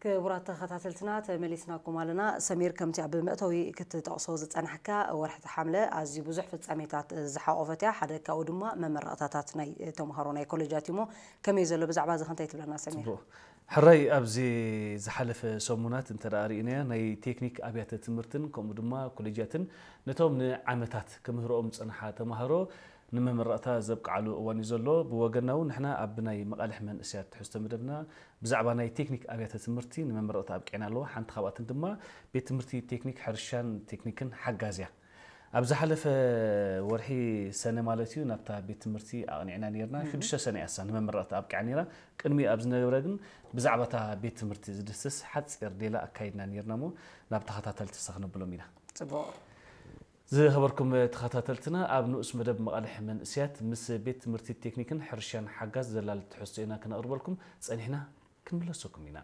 ክቡራት ተኸታተልትና፣ ተመሊስናኩም ኣለና። ሰሚር፣ ከምቲ ኣብ መእተዊ ክትጠቕሶ ዝጸናሕካ፣ ወርሒ ሓምለ ኣዝዩ ብዙሕ ፍጻሜታት ዝሓቖፈት እያ። ሓደ ካብኡ ድማ መመረቕታታት ናይ ተምሃሮ ናይ ኮሌጃት እዩ። እሞ ከመይ ዘሎ፣ ብዛዕባ እዚ ከ እንታይ ትብለና ሰሚር? ጽቡቕ። ሕራይ፣ ኣብዚ ዝሓለፈ ሰሙናት እንተ ደኣ ርኢናዮ፣ ናይ ቴክኒክ ኣብያተ ትምህርትን ከምኡ ድማ ኮሌጃትን ነቶም ንዓመታት ክምህርኦም ዝጸንሓ ተምሃሮ ንመመረቕታ ዘብቅዓሉ እዋን እዩ ዘሎ። ብወገንና እውን ንሕና ኣብ ናይ መቓልሕ መንእሰያት ትሕዝቶ መደብና ብዛዕባ ናይ ቴክኒክ ኣብያተ ትምህርቲ ንመመረቕታ ኣብቂዕና ኣለዎ። ሓንቲ ካብኣተን ድማ ቤት ትምህርቲ ቴክኒክ ሕርሻን ቴክኒክን ሓጋዝ እያ። ኣብ ዝሓለፈ ወርሒ ሰነ ማለት እዩ፣ ናብታ ቤት ትምህርቲ ኣቕኒዕና ነርና። ሽዱሽተ ሰነ እያ እሳ ንመመረቕታ ኣብቂዓ ነራ። ቅድሚ ኣብ ዝነበረ ግን ብዛዕባ እታ ቤት ትምህርቲ ዝድስስ ሓጺር ሌላ ኣካይድና ነርና እሞ ናብ ተኸታተልቲ ሰ ክነብሎም ኢና። ጽቡቕ። ዝኸበርኩም ተኸታተልትና፣ ኣብ ንኡስ መደብ መቓልሕ መንእሰያት ምስ ቤት ትምህርቲ ቴክኒክን ሕርሻን ሓጋዝ ዘላል ትሕዝቶ ኢና ክነቕርበልኩም ጸኒሕና። ክንምለሰኩም ኢና።